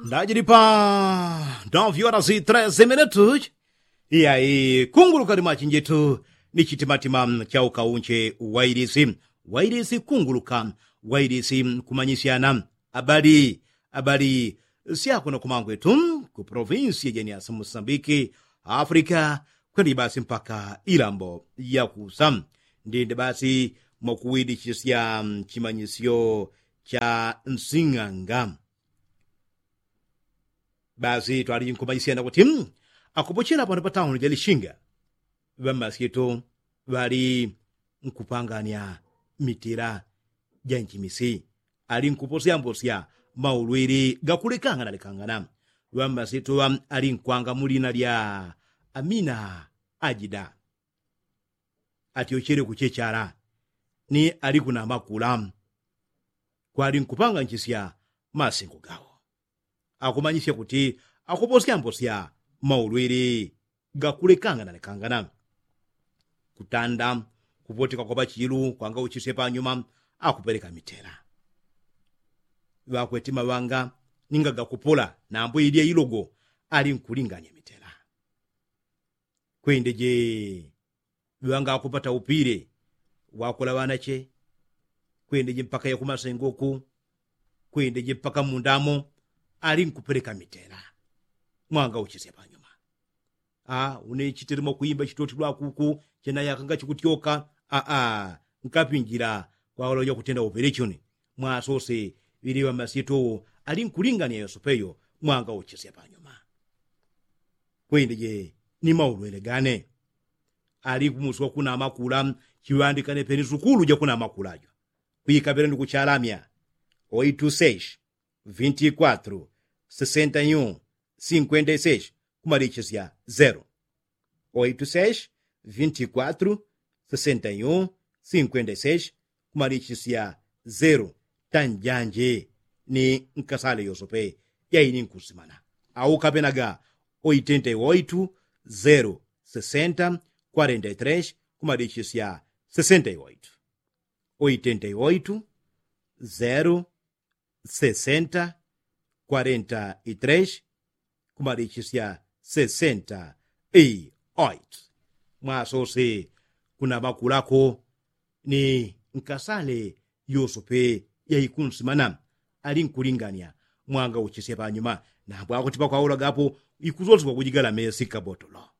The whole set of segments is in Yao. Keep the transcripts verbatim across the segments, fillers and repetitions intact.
Ndajilipa ndovyora zi treze minutu. Iyayi kunguluka limachinjitu ni chitimatima cha ukaunche. Wailisi wailisi kunguluka wailisi kumanyisiana abali abali syakuno kumangwetu ku provinsi ya jeniasi musambiki, afrika kwenda ibasi mpaka ilambo yakusa. Ndinde basi mwakuwidichisya chimanyisyo cha nsing'anga. Basi twali nkumajisyana kuti akupochela pano patauni ja lishinga ŵammasyito ŵali nkupangania mitila ja nchimisi ali nkuposyambosya maulwili gakulekangana lekangana. Ŵammasyito ŵa ali nkwanga mulina lya amina ajida atyochele kuchechala ni ali kunamakula kwali nkupanganchisya masengo gawo. Akumanyisya kuti akuposyambosya maulwili gakulekangana lekangana. Kutanda kupoteka kwa pachilu kwangauchisye panyuma akupeleka mitela. Ŵakweti maŵanga ninga gakupola nambo ilya ilogo ali nkulinganya mitela. Kwendeje ŵangakupata upile wakula ŵanache. Kwendeje mpaka yakumasengoku kwendeje mpaka mundamo ali nkupeleka mitela. Mwangauchisya panyuma. Une chitelemo kuimba chitoti lwakuku chenayaka ngachikutyoka. Aa nkapinjila kwaula uja kutenda operechoni. Mwasose ŵili ŵamasyetowo ali nkulingania yosopeyo. Mwangauchisya panyuma. Kwendeje ni maulwele gane ali kumusi wakunamakula. Chiŵandikane peni sukulu jakunamakula jo kwikapela ni kuchalamya. Oitu seshi vinti kwatru sesenta yu sinkwenda iseshi kumalichisya zero. Oitu seshi vinti kwatru sesenta yu sinkwenda iseshi kumalichisya zero. Tanjanje ni nkasale yosope yaini nkusimana. Au kapenaga oitenta i oitu zero sesenta kwarenta i treshi kumalichisya sesenta i oitu. Oitenta i oitu zero sesenta kwarenta i treshi kumalichisya sesenta i oitu. Mwasose kunamakulako ni nkasale yosope yaikunsimana ali nkulingania. Mwangauchisya panyuma nambo akuti pakwaulaga apo ikusoswa kujigala mesi kabotulo.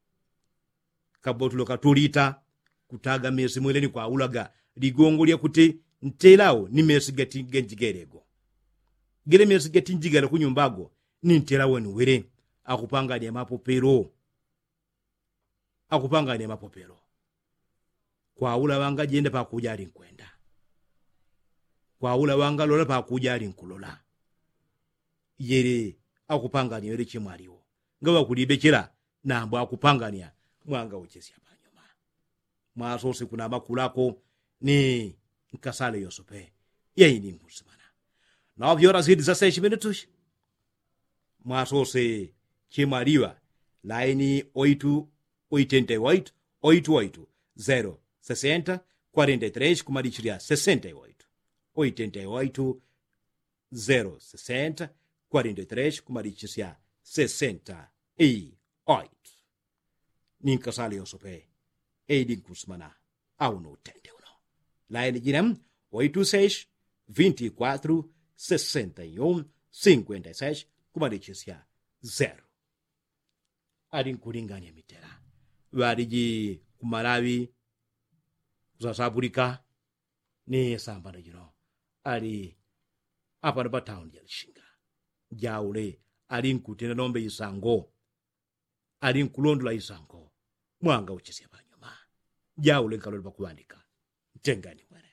Kabotulo katulita kutaga mesi mwele ni kwaulaga ligongo lyakuti ntelao ni mesi gati ganjigele go. Gele mesi gati njigale kunyumba go ni ntelao ni wele. Akupangania mapopelo akupangania mapopelo. Kwaula ŵangajenda pakuja ali nkwenda. Kwaula ŵangalola pakuja ali nkulola. Yele akupangania yele chemwaliwo ngaŵakulibechela nambo akupangania. Mwangauchesya panyuma. Mwasose kunamakulako ni nkasale yosope yaini nkusimana. Nawo vyora zidi za seshi minutushi. Mwasose chemwaliŵa laini oitu oitenta i oitu oitu oitu zero sesenta kwarenta i treshi kumalichilya sesenta i oitu. Oitenta i oitu zero sesenta kwarenta i treshi kumalichisya sesenta i oitu. Ni nkasale yosope eidi nkusimana. Au ni utende uno laini jine oitu seshi vinti kwatru sesenta i yu sinkwenda i seshi kumalichisya zero. Ali nkulingania mitela ŵaliji kumalaŵi kusasapulika ni sambano jino. Ali apano patauni ja lishinga jaule ali nkutenda nombe isango. Ali nkulondola isango. Mwangauchisya panyuma. Jaule nkalole pakuŵandika. Ntengani mwene.